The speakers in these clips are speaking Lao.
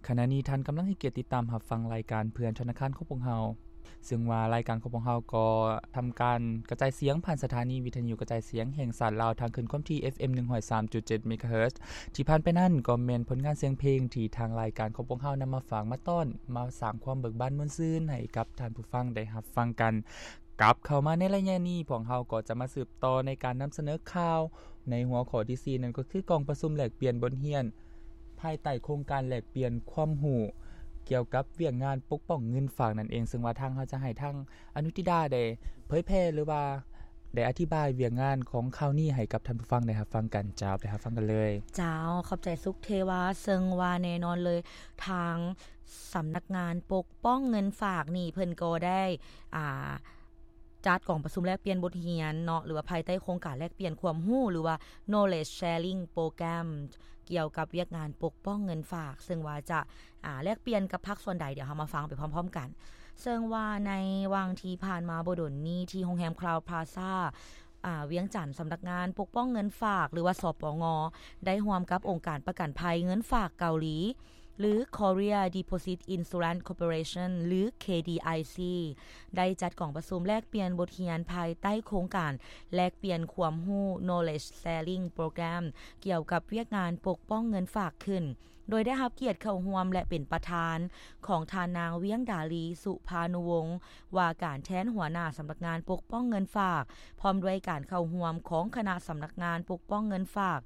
ຂະນະນີ້ທ່ານກຳລັງໃຫ້ກຽດຕິດຕາມຮັບຟັງລາຍການເພື່ອນທະນາຄານຂອງພວກເຮົາ, ເຊິ່ງວ່າລາຍການຂອງພວກເຮົາກໍທຳການກະຈາຍສຽງຜ່ານສະຖານີວິທະຍຸກະຈາຍສຽງແຫ່ງຊາດລາວ ທາງຄື້ນຄວາມຖີ່ ເອັຟເອັມ ໜຶ່ງຮ້ອຍສາມຈຸດເຈັດ ເມກາເຮີດ. ທີ່ຜ່ານໄປນັ້ນກໍແມ່ນຜົນງານສຽງເພງທີ່ທາງລາຍການຂອງພວກເຮົານຳມາຝາກມາຕ້ອນ, ມາສ້າງຄວາມເບີກບານມ່ວນຊື່ນໃຫ້ກັບທ່ານຜູ້ຟັງໄດ້ຮັບຟັງກັນ. ກັບເຂົ້າມາໃນໄລຍະນີ້, ພວກເຮົາກໍຈະມາສືບຕໍ່ໃນການນຳສະເໜີຂ່າວ ໃນຫົວຂໍ້ທີສີ່ ນັ້ນກໍຄືກອງປະຊຸມແລກປ່ຽນບົດຮຽນ ພາຍໃຕ້ໂຄງການແລກປ່ຽນຄວາມຮູ້ກ່ຽວກັບວຽກງານປົກປ້ອງເງິນຝາກນັ້ນເອງ, ເຊິ່ງວ່າທາງເຮົາຈະໃຫ້ທາງອະນຸທິດາໄດ້ເຜີຍແຜ່ ຫຼືວ່າໄດ້ອະທິບາຍວຽກງານຂອງຂ່າວນີ້ໃຫ້ກັບທ່ານຜູ້ຟັງໄດ້ຮັບຟັງກັນ. ເຈົ້າ, ໄປຮັບຟັງກັນເລີຍ. ເຈົ້າ, ຂອບໃຈສຸກເທວາ. ເຊິ່ງວ່າແນ່ນອນເລີຍ, ທາງສຳນັກງານປົກປ້ອງເງິນຝາກນີ້ ເພິ່ນກໍໄດ້ ອ່າ ຈັດກອງປະຊຸມແລກປ່ຽນບົດຮຽນເນາະ ຫຼືວ່າພາຍໃຕ້ໂຄງການແລກປ່ຽນຄວາມຮູ້ ຫຼືວ່າ Knowledge Sharing Program ກ່ຽວກັບວຽກງານປົກປ້ອງເງິນຝາກ, ເຊິ່ງວ່າຈະ ອ່າ ແລກປ່ຽນກັບພາກສ່ວນໃດ, ດຽວເຮົາມາຟັງໄປພ້ອມໆກັນ. ເຊິ່ງວ່າໃນຫວ່າງທີ່ຜ່ານມາບໍ່ດົນນີ້ ທີ່ໂຮງແຮມ Crowne Plaza ອ່າ ວຽງຈັນ, ສຳນັກງານປົກປ້ອງເງິນຝາກ ຫຼືວ່າ ສປງ ໄດ້ຮ່ວມກັບອົງການປະກັນໄພເງິນຝາກເກົາຫຼີ ຫຼື Korea Deposit Insurance Corporation ຫຼື KDIC ໄດ້ຈັດກອງປະຊຸມແລກປ່ຽນບົດຮຽນພາຍໃຕ້ໂຄງການແລກປ່ຽນຄວາມຮູ້ Knowledge Sharing Program ກ່ຽວກັບວຽກງານປົກປ້ອງເງິນຝາກຂຶ້ນ, ໂດຍໄດ້ຮັບກຽດເຂົ້າຮ່ວມ ແລະ ເປັນປະທານຂອງທ່ານນາງ ວຽງດາລີ ສຸພານຸວົງ ວ່າການແທນຫົວໜ້າສຳນັກງານປົກປ້ອງເງິນຝາກ, ພ້ອມດ້ວຍການເຂົ້າຮ່ວມຂອງຄະນະສຳນັກງານປົກປ້ອງເງິນຝາກ,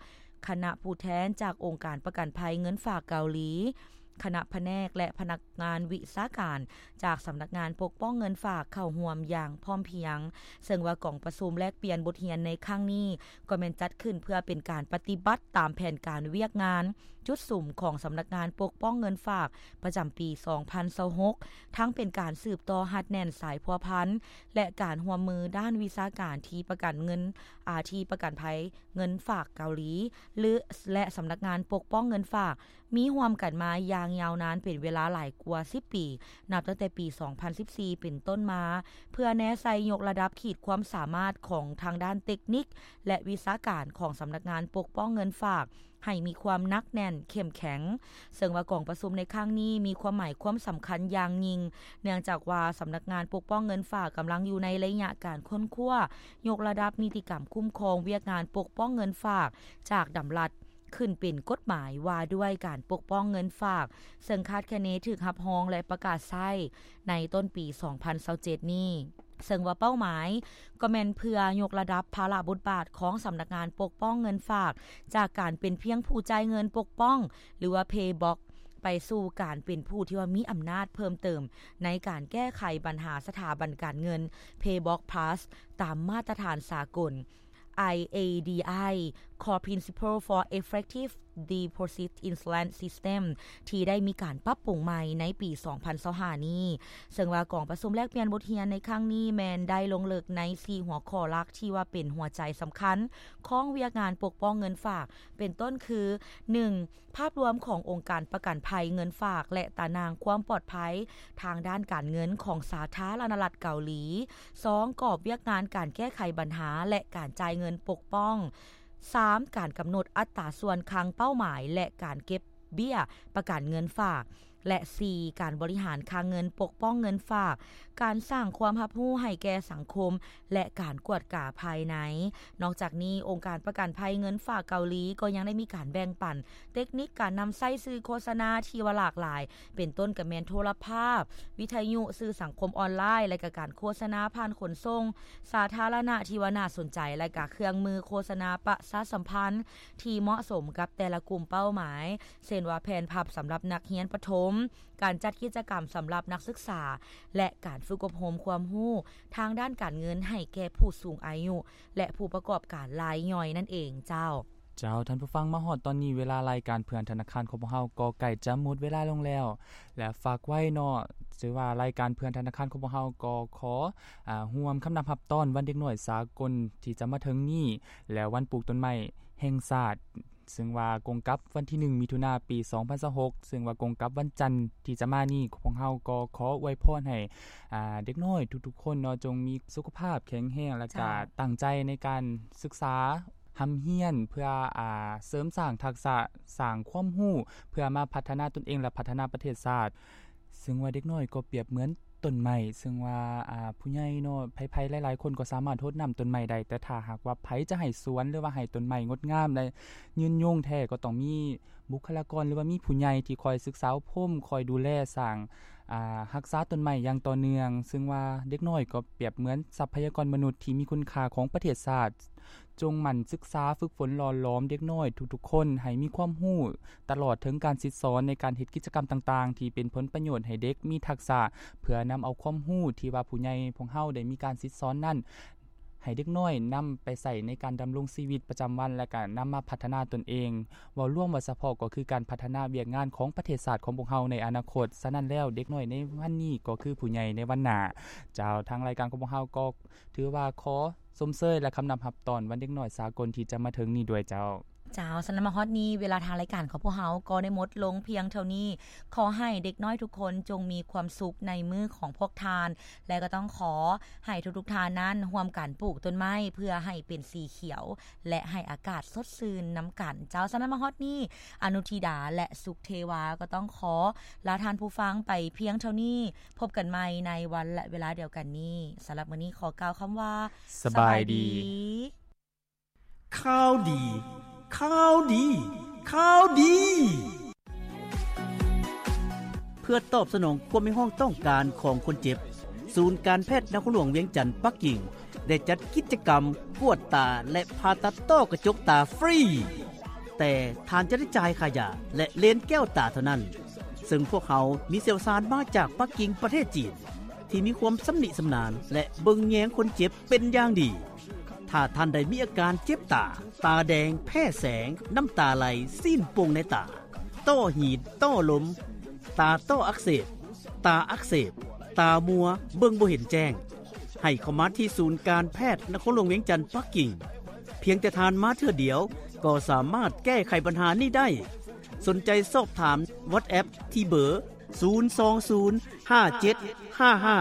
ຄະນະຜູ້ແທນຈາກອົງການປະກັນໄພເງິນຝາກເກົາຫຼີ, ຄະນະພະແນກ ແລະ ພະນັກງານວິຊາການຈາກສຳນັກງານປົກປ້ອງເງິນຝາກເຂົ້າຮ່ວມຢ່າງພ້ອມພຽງ, ເຊິ່ງວ່າກອງປະຊຸມແລກປ່ຽນບົດຮຽນໃນຄັ້ງນີ້ ກໍແມ່ນຈັດຂຶ້ນເພື່ອເປັນການປະຕິບັດຕາມແຜນການວຽກງານຈຸດສຸມຂອງສຳນັກງານປົກປ້ອງເງິນຝາກປະຈຳປີສອງພັນຊາວຫົກ, ທັງເປັນການສືບຕໍ່ຮັດແໜ້ນສາຍພົວພັນ ແລະ ການຮ່ວມມືດ້ານວິຊາການທີ່ປະກັນເງິນ ອາ ທີ່ປະກັນໄພ ເງິນຝາກເກົາຫຼີ ຫຼື ແລະ ສຳນັກງານປົກປ້ອງເງິນຝາກ ມີຮ່ວມກັນມາຢ່າງຍາວນານເປັນເວລາຫຼາຍກວ່າສິບປີ, ນັບຕັ້ງແຕ່ປີສອງພັນສິບສີ່ເປັນຕົ້ນມາ, ເພື່ອແນໃສ່ຍົກລະດັບຂີດຄວາມສາມາດຂອງທາງດ້ານເຕັກນິກ ແລະ ວິຊາການຂອງສຳນັກງານປົກປ້ອງເງິນຝາກ ໃຫ້ມີຄວາມໜັກແໜ້ນເຂັ້ມແຂງ. ເຊິ່ງວ່າກອງປະຊຸມໃນຄັ້ງນີ້ມີຄວາມໝາຍຄວາມສຳຄັນຢ່າງຍິ່ງ, ເນື່ອງຈາກວ່າສຳນັກງານປົກປ້ອງເງິນຝາກກຳລັງຢູ່ໃນໄລຍະການຄົ້ນຄວ້າຍົກລະດັບນິຕິກຳຄຸ້ມຄອງວຽກງານປົກປ້ອງເງິນຝາກ ຈາກດຳລັດຂຶ້ນເປັນກົດໝາຍວ່າດ້ວຍການປົກປ້ອງເງິນຝາກ, ເຊິ່ງຄາດຄະເນຖືກຮັບຮອງ ແລະ ປະກາດໃຊ້ໃນຕົ້ນປີສອງພັນຊາວເຈັດນີ້. ເຊິ່ງວ່າເປົ້າໝາຍກໍແມ່ນເພື່ອຍົກລະດັບພາລະບົດບາດຂອງສຳນັກງານປົກປ້ອງເງິນຝາກ ຈາກການເປັນພຽງຜູ້ຈ່າຍເງິນປົກປ້ອງ ຫຼືວ່າ Pay Box ໄປສູ່ການເປັນຜູ້ທີ່ວ່າມີອຳນາດເພີ່ມເຕີມໃນການແກ້ໄຂບັນຫາສະຖາບັນການເງິນ Pay Box Plus ຕາມມາດຕະຖານສາກົນ IADI Core Principle for Effective Deposit Insurance System ທີ່ໄດ້ມີການປັບປຸງໃໝ່ໃນປີສອງພັນຊາວຫ້ານີ້, ເຊິ່ງວ່າກອງປະຊຸມແລກປ່ຽນບົດຮຽນໃນຄັ້ງນີ້ແມ່ນໄດ້ລົງເລິກໃນສີ່ຫົວຂໍ້ຫຼັກທີ່ວ່າເປັນຫົວໃຈສຳຄັນຂອງວຽກງານປົກປ້ອງເງິນຝາກ, ເປັນຕົ້ນຄື ໜຶ່ງ ພາບລວມຂອງອົງການປະກັນໄພເງິນຝາກ ແລະ ຕາໜ່າງຄວາມປອດໄພທາງດ້ານການເງິນຂອງສາທາລະນະລັດເກົາຫຼີ, ສອງ ກອບວຽກງານການແກ້ໄຂບັນຫາ ແລະ ການຈ່າຍເງິນປົກປ້ອງ, ສາມ ການກຳນົດອັດຕາສ່ວນຄັງເປົ້າໝາຍ ແລະ ການເກັບເບ້ຍປະກັນເງິນຝາກ ແລະ ສີ່ ການບໍລິຫານຄັງເງິນປົກປ້ອງເງິນຝາກ, ການສ້າງຄວາມຮັບຮູ້ໃຫ້ແກ່ສັງຄົມ ແລະ ການກວດກາພາຍໃນ. ນອກຈາກນີ້, ອົງການປະກັນໄພເງິນຝາກເກົາຫຼີກໍຍັງໄດ້ມີການແບ່ງປັນເຕັກນິກການນຳໃຊ້ສື່ໂຄສະນາທີ່ວ່າຫຼາກຫຼາຍ, ເປັນຕົ້ນກໍແມ່ນໂທລະພາບ, ວິທະຍຸ, ສື່ສັງຄົມອອນລາຍ ແລະ ກະການໂຄສະນາຜ່ານຂົນສົ່ງສາທາລະນະທີ່ວ່າໜ້າສົນໃຈ ແລະ ກະເຄື່ອງມືໂຄສະນາປະຊາສຳພັນທີ່ເໝາະສົມກັບແຕ່ລະກຸ່ມເປົ້າໝາຍ, ເຊັ່ນວ່າແຜ່ນພັບສຳລັບນັກຮຽນປະຖົມ, ການຈັດກິດຈະກຳສຳລັບນັກສຶກສາ ແລະ ການຝຶກອົບຮົມຄວາມຮູ້ທາງດ້ານການເງິນໃຫ້ແກ່ຜູ້ສູງອາຍຸ ແລະ ຜູ້ປະກອບການລາຍຍ່ອຍນັ້ນເອງເຈົ້າ. ເຈົ້າ, ທ່ານຜູ້ຟັງ, ມາຮອດຕອນນີ້ ເວລາລາຍການເພື່ອນທະນາຄານຂອງພວກເຮົາກໍໃກ້ຈະໝົດເວລາລົງແລ້ວ ແລະ ຝາກໄວ້ເນາະ, ຖືວ່າລາຍການເພື່ອນທະນາຄານຂອງພວກເຮົາກໍຂໍ ອາ ຮ່ວມຄຳນັບຮັບຕ້ອນວັນເດັກນ້ອຍສາກົນທີ່ຈະມາເຖິງນີ້ ແລະ ວັນປູກຕົ້ນໄມ້ແຫ່ງຊາດ ເຊິ່ງວ່າກົງກັບວັນທີໜຶ່ງ ມິຖຸນາ ປີສອງພັນຊາວຫົກ ເຊິ່ງວ່າກົງກັບວັນຈັນທີ່ຈະມານີ້, ພວກເຮົາກໍຂໍອວຍພອນໃຫ້ ອາ ເດັກນ້ອຍທຸກໆຄົນເນາະ ຈົ່ງມີສຸຂະພາບແຂງແຮງ ແລະ ກະ ເຈົ້າ ຕັ້ງໃຈໃນການສຶກສາ ຮ່ຳຮຽນ ເພື່ອ ອາ ເສີມສ້າງທັກສະ, ສ້າງຄວາມຮູ້ ເພື່ອມາພັດທະນາຕົນເອງ ແລະ ພັດທະນາປະເທດຊາດ. ເຊິ່ງວ່າເດັກນ້ອຍກໍປຽບເໝືອນຕົ້ນໄມ້, ເຊິ່ງວ່າ ອາ ຜູ້ໃຫຍ່ເນາະ ໃຜໆຫຼາຍໆຄົນກໍສາມາດຫົດນ້ຳຕົ້ນໄມ້ໄດ້, ແຕ່ຖ້າຫາກວ່າໃຜຈະໃຫ້ສວນ ຫຼືວ່າໃຫ້ຕົ້ນໄມ້ງົດງາມ ແລະ ຍືນຍົງແທ້ ກໍຕ້ອງມີບຸກຄະລາກອນ ຫຼືວ່າມີຜູ້ໃຫຍ່ທີ່ຄອຍສຶກສາອົບຮົມ, ຄອຍດູແລສ້າງ ອາ ຮັກສາຕົ້ນໄມ້ຢ່າງຕໍ່ເນື່ອງ. ເຊິ່ງວ່າເດັກນ້ອຍກໍປຽບເໝືອນຊັບພະຍາກອນມະນຸດທີ່ມີຄຸນຄ່າຂອງປະເທດຊາດ. ຈົ່ງໝັ່ນສຶກສາຝຶກຝົນຫຼໍ່ຫຼອມເດັກນ້ອຍທຸກໆຄົນໃຫ້ມີຄວາມຮູ້ ຕະຫຼອດເຖິງການສິດສອນໃນການເຮັດກິດຈະກຳຕ່າງໆ ທີ່ເປັນຜົນປະໂຫຍດໃຫ້ເດັກມີທັກສະ ເພື່ອນຳເອົາຄວາມຮູ້ທີ່ວ່າຜູ້ໃຫຍ່ພວກເຮົາໄດ້ມີການສິດສອນນັ້ນ ໃຫ້ເດັກນ້ອຍນຳໄປໃຊ້ໃນການດຳລົງຊີວິດປະຈຳວັນ ແລະ ກະນຳມາພັດທະນາຕົນເອງ. ເວົ້າລວມວ່າສະເພາະກໍຄືການພັດທະນາວຽກງານຂອງປະເທດຊາດຂອງພວກເຮົາໃນອະນາຄົດ. ສະນັ້ນແລ້ວ ເດັກນ້ອຍໃນວັນນີ້ກໍຄືຜູ້ໃຫຍ່ໃນວັນໜ້າ. ເຈົ້າ, ທາງລາຍການຂອງພວກເຮົາກໍຖືວ່າຂໍຊົມເຊີຍ ແລະ ຄຳນັບຮັບຕ້ອນວັນເດັກນ້ອຍສາກົນທີ່ຈະມາເຖິງນີ້ດ້ວຍເຈົ້າ. ເຈົ້າ, ສະນັ້ນມາຮອດນີ້ ເວລາທາງລາຍການຂອງພວກເຮົາກໍໄດ້ໝົດລົງພຽງເທົ່ານີ້. ຂໍໃຫ້ເດັກນ້ອຍທຸກຄົນຈົ່ງມີຄວາມສຸກໃນມື້ຂອງພວກທ່ານ ແລະ ກໍຕ້ອງຂໍໃຫ້ທຸກໆທ່ານນັ້ນຮ່ວມກັນປູກຕົ້ນໄມ້ເພື່ອໃຫ້ເປັນສີຂຽວ ແລະ ໃຫ້ອາກາດສົດຊື່ນນຳກັນ. ເຈົ້າ, ສະນັ້ນມາຮອດນີ້ ອະນຸທິດາ ແລະ ສຸກເທວາ ກໍຕ້ອງຂໍລາທ່ານຜູ້ຟັງໄປພຽງເທົ່ານີ້. ພົບກັນໃໝ່ໃນວັນ ແລະ ເວລາດຽວກັນນີ້. ສຳລັບມື້ນີ້ຂໍກ່າວຄຳວ່າ ສະບາຍດີ. ສະບາຍດີ. ຂ່າວດີ ຂ່າວດີ ຂ່າວດີ. ເພື່ອຕອບສະໜອງຄວາມຮຽກຮ້ອງຕ້ອງການຂອງຄົນເຈັບ, ສູນການແພດນະຄອນຫຼວງວຽງຈັນປັກກິ່ງ ໄດ້ຈັດກິດຈະກຳກວດຕາ ແລະ ຜ່າຕັດຕ້ອກະຈົກຕາຟຣີ, ແຕ່ທ່ານຈະໄດ້ຈ່າຍຄ່າຢາ ແລະ ເລນແກ້ວຕາເທົ່ານັ້ນ. ເຊິ່ງພວກເຮົາມີຊ່ຽວຊານມາຈາກປັກກິ່ງ ປະເທດຈີນ ທີ່ມີຄວາມຊຳນິຊຳນານ ແລະ ເບິ່ງແຍງຄົນເຈັບເປັນຢ່າງດີ. ຖ້າທ່ານໃດມີອາການເຈັບຕາ, ຕາແດງ, ແພ້ແສງ, ນ້ຳຕາໄຫຼ, ຊີ້ນໂປ່ງໃນຕາ, ຕ້ອຫີນ, ຕ້ອລົມ, ຕາຕ້ອອັກເສບ, ຕາອັກເສບ, ຕາມົວ, ເບິ່ງບໍ່ເຫັນແຈ້ງ, ໃຫ້ເຂົ້າມາທີ່ສູນການແພດນະຄອນຫຼວງວຽງຈັນປັກກິ່ງ. ພຽງແຕ່ທ່ານມາເທື່ອດຽວ ກໍສາມາດແກ້ໄຂບັນຫານີ້ໄດ້. ສົນໃຈສອບຖາມ WhatsApp ທີ່ເບີ ສູນສອງສູນ ຫ້າເຈັດຫ້າຫ້າ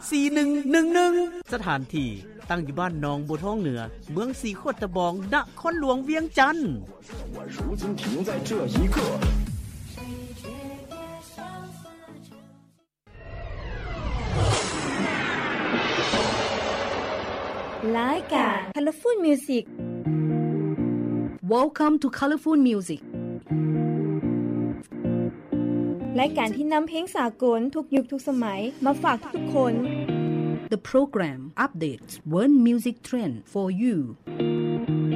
ສີ່ໜຶ່ງໜຶ່ງໜຶ່ງ. ສະຖານທີ່ຕັ້ງຢູ່ບ້ານໜອງບົວທອງເໜືອ, ເມືອງສີຂວດຕະບອງ, ນະຄອນຫຼວງວຽງຈັນ. ລາຍການ Colorful Music. Welcome to Colorful Music. ລາຍການທີ່ນຳເພງສາກົນທຸກຍຸກທຸກສະໄໝມາຝາກທຸກໆຄົນ. The program updates world music trend for you.